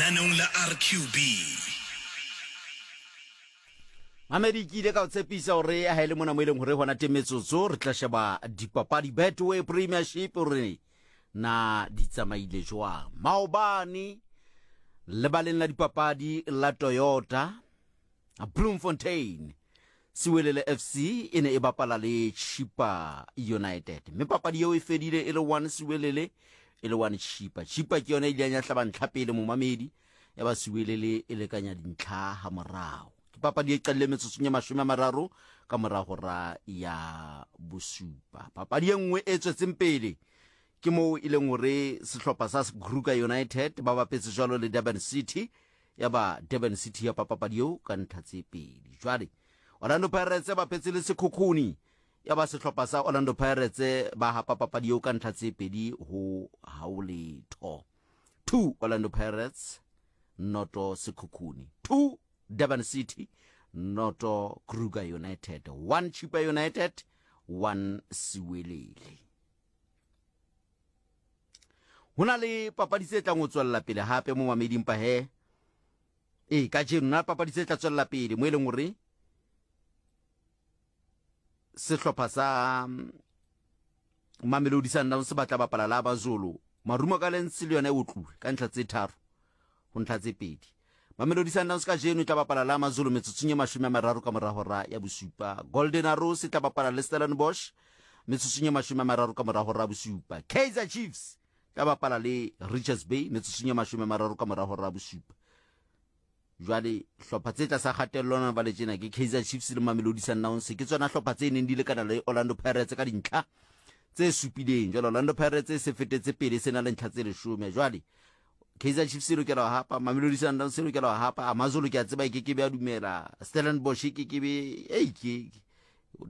Lenaneong la RQB. Mamedi, ke ile ka o tshepisa gore ha e le mona mo e leng gore gona teng metsotso re tla sheba dipapadi Betway Premiership gore na di tsamaile jwang. Maobane lebaleng la dipapadi la Toyota Bloemfontein, Siwelele FC e ne e bapala le Chippa United mme papadi eo e fedile e le 1 Siwelele e le 1 Chippa. Chippa ke yone e ileng ya hlaba ntlha pele momamedi ya ba Siwelele e lekanya dintlha ha morao. Ke papadi e qadile metsotsong ya 30 ka mora hora ya bosupa. Papadi e nngwe e tswetseng pele ke moo e leng hore sehlopha sa Kruger United ba bapetse jwalo le Durban City ya ba Durban City ya papapadi eo ka ntlha tse pedi. Jwale Orlando Pirates ba phetse le Sekhukhuni ya ba sehlopha sa Orlando Pirates ba hapa papadi eo ka ntlha tse pedi ho hao letho. 2 Orlando Pirates noto Sekhukhuni 2 Durban City noto Kruger United 1 Chippa United 1 Siwelele. Ho na le papadi tse tlang ho tswella pele hape mo mameding pa he. Ee, kajeno na papadi tse tla tswella pele mo e leng hore sehlopha sa mm, Mamelodi Sundowns se batla bapala la Abazulu. Marumo Gallants le yona e otluwe ka ntlha tse tharo ho ntlha tse pedi. Mamelodi Sundowns kajeno e tla bapala la Amazulu metsotsong e 30 ka mora hora ya bosupa. Golden Arrows e tla bapala le Stellenbosch metsotsong e 30 ka mora hora ya bosupa. Kaizer Chiefs tla bapala le Richards Bay metsotsong e 30 ka mora hora ya bosupa. Jwale hlopha tse tlasa kgatello na ba le tjena ke Kaizer Chiefs le Mamelodi Sundowns ke tsona hlopha tse neng di lekana le Orlando Pirates ka dintlha tse supileng. Jwale Orlando Pirates e se fetetse pele se na le ntlha tse 10. Jwale Kaizer Chiefs e lokela ho hapa, Mamelodi Sundowns e lokela ho hapa, Amazulu ke a tseba e ke ke be a dumela, Stellenbosch e ke ke be ei ke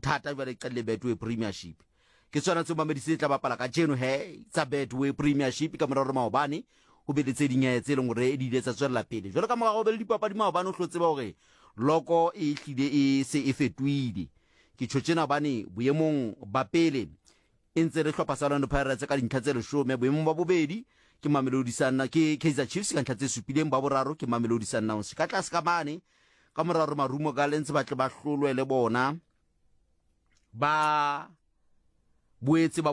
thata jwale e qadile Betway Premiership. Ke tsona tseo Mamelodi se tla bapala kajeno he tsa Betway Premiership ka mora hore maobane ho be le tse ding eh, tse leng hore di ile tsa tswella pele. Jwalo ka mora ho be le dipapadi maobane o hlo tseba hore loko e hlile e se e fetohile. Ke tjho tjena hobane boemong ba pele e ntse le hlopha sa Orlando Pirates ka dintlha tse leshome. Boemong ba bobedi ke Mamelodi Sundowns, ke Kaizer Chiefs ka ntlha tse supileng, ba boraro ke Mamelodi Sundowns. Ka tlase ka mane ka mora hore Marumo Gallants ba tle ba hlolwe le bona ba boetse ba.